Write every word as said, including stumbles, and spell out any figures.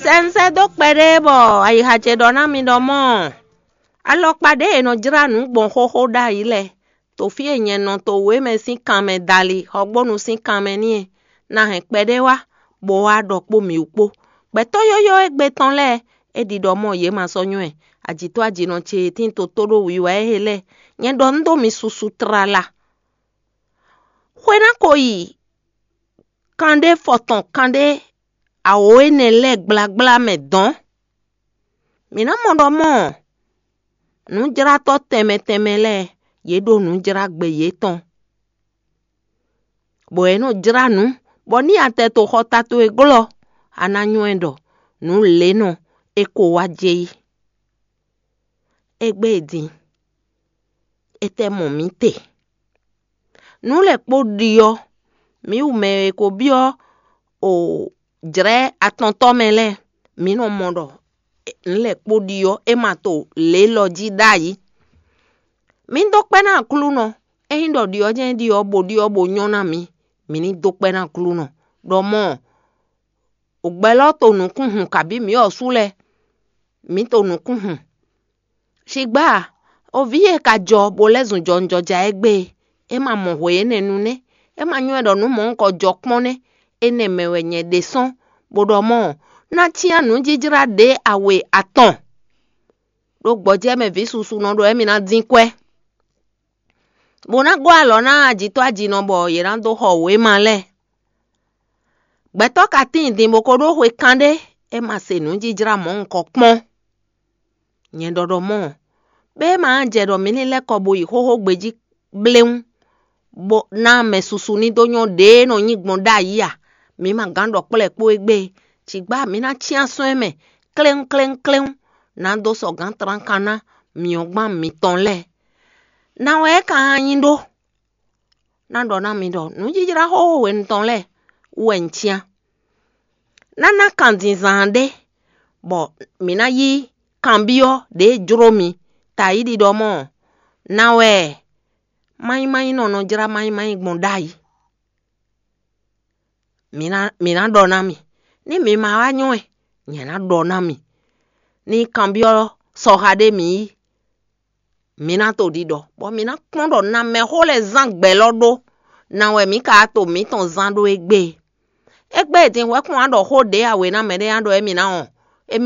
Sɛ un sɛ́ dó kpɛɖé bɔ ayixa ce ɖɔ ná mi ɖɔ mɔ́, alɔkpa ɖě è nɔ jlá nǔ gbɔn xóxó ɖ'ayǐ lɛ́ɛ, to fí e nyɛ nɔ to wěmɛ sín kanmɛ dali, xɔgbónu sín kanmɛ ní e, ná hɛn kpɛɖé wá, bó wá ɖɔ kpó mǐ wú kpó. Gbɛtɔ́ yɔ́yɔ́ égbé tɔn lɛ́ɛ, é ɖiɖɔ mɔ yě ma sɔ́ nywɛ́. Ajǐtɔ́ ajǐnɔ ce e tín toto ɖó wiwa e lɛ́ɛ, nyɛ ɖɔ un ɖó mi susu tlala. Xwe ná ko yi kanɖé fɔtɔn kanɖé awǒ énɛ́ lɛ́ɛ gblágbla mɛ dɔ̌n. Mǐ ná mɔ ɖɔ mɔ́ nǔjlátɔ́ tɛnmɛ tɛnmɛ lɛ́ɛ, yě ɖo nǔ jlá gbe yětɔn, bɔ yě nɔ jlá nǔ, bɔ ní a tɛ to xɔta towe glɔ́, a ná nywɛ́ ɖɔ nǔ lěnɔ é ko wá jɛ yí. Égbé din, étɛ́ mɔ mǐ te? Nǔ lɛ́ɛ kpó ɖi ɔ́, mǐ wú mɛ e ko byɔ́ o jlɛ̌ atɔntɔ́ mɛ lɛ́ɛ, mǐ nɔ mɔ ɖɔ nǔ lɛ́ɛ kpó ɖi ɔ́, é ma to lě élɔ́ jí ɖ'ayǐ. Mǐ dó kpɛ́ ná Aklúnɔ, ényí ɖɔ ɖi ɔ́ jɛ́n ɖi ɔ́, bó ɖi ɔ́, bó nyɔ́ ná mǐ, mǐ ní dó kpɛ́ ná Aklúnɔ. Ɖɔ mɔ̌, o gbɛlɔ́ to nǔkún hun kabǐ mǐ ɔ́ sú lɛ́ɛ, mǐ to nǔkún hun. Shigbá, o vǐ e ka jɔ bó lɛ́ zun jɔwunjɔja égbé e, é ma mɔ hwe énɛ́ nu nɛ́, é ma nywɛ́ ɖɔ nǔ mɔ̌hunkɔ jɔ kpɔ́n nɛ́, énɛ́ mɛ wɛ nyɛ ɖe sɔ́n, bó ɖɔ mɔ́, ná cyán nǔjijlá ɖě awe atɔn, ɖó gbɔjɛ́ mɛ vǐ susu nɔ ɖɔ émí ná dín kwɛ́, bó ná gɔ́ alɔ ná ajǐtɔ́ ajǐnɔ bɔ yě ná dó xɔ wěma lɛ́ɛ. Gbɛtɔ́ ka tíin din bó ko ɖó xwe kanɖé, é ma se nǔjijlá mɔ̌hunkɔ kpɔ́n. Nyɛ ɖɔ ɖɔ mɔ́, bɛ́ é ma jɛ ɖɔ mǐ ní lɛ́ kɔ bo yi xóxó gbejí bléwún, bó ná mɛ susu ní dó nyɔ́ ɖě e nɔ nyí gbɔn ɖ'ayǐ a? Mǐ ma gán ɖɔ kplɔ́ ɛ kpó égbé. Cigbá mǐ ná cyán sɔ́ ɛ mɛ kléwún kléwún kléwún, ná dó sɔ gǎn tlánkan ná myɔ̌gban mǐtɔn lɛ́ɛ. Ná wɛ é ka nyí ɖó? Ná ɖɔ ná mi ɖɔ nǔjijlá xóxó hwenu tɔn lɛ́ɛ wú wɛ un cyán. Ná ná kanzínzán ɖé, bɔ mǐ ná yí kanbyɔ́ ɖě jló mi. Tayi ɖiɖɔ mɔ́, ná wɛ manyímanyínɔ nɔ jlá manyímanyí gbɔn ɖ'ayǐ. Mǐ ná mǐ ná ɖɔ ná mi, ní mi ma wá nyɔ́ ɛ, nyɛ ná ɖɔ ná mi. Ní kanbyɔ́ sɔxa ɖé mǐ yí, mǐ ná to ɖiɖɔ, bɔ mǐ ná kpɔ́n ɖɔ na mɛxó lɛ́ɛ zán gbɛ lɔ ɖó, na wɛ mǐ ka to mǐtɔn zán ɖó égbé. Égbé e din hwɛ́ kplɔ́n ná ɖɔ xó ɖě a wě ná mɛɖé ná ɖɔ émí ná ɔ́,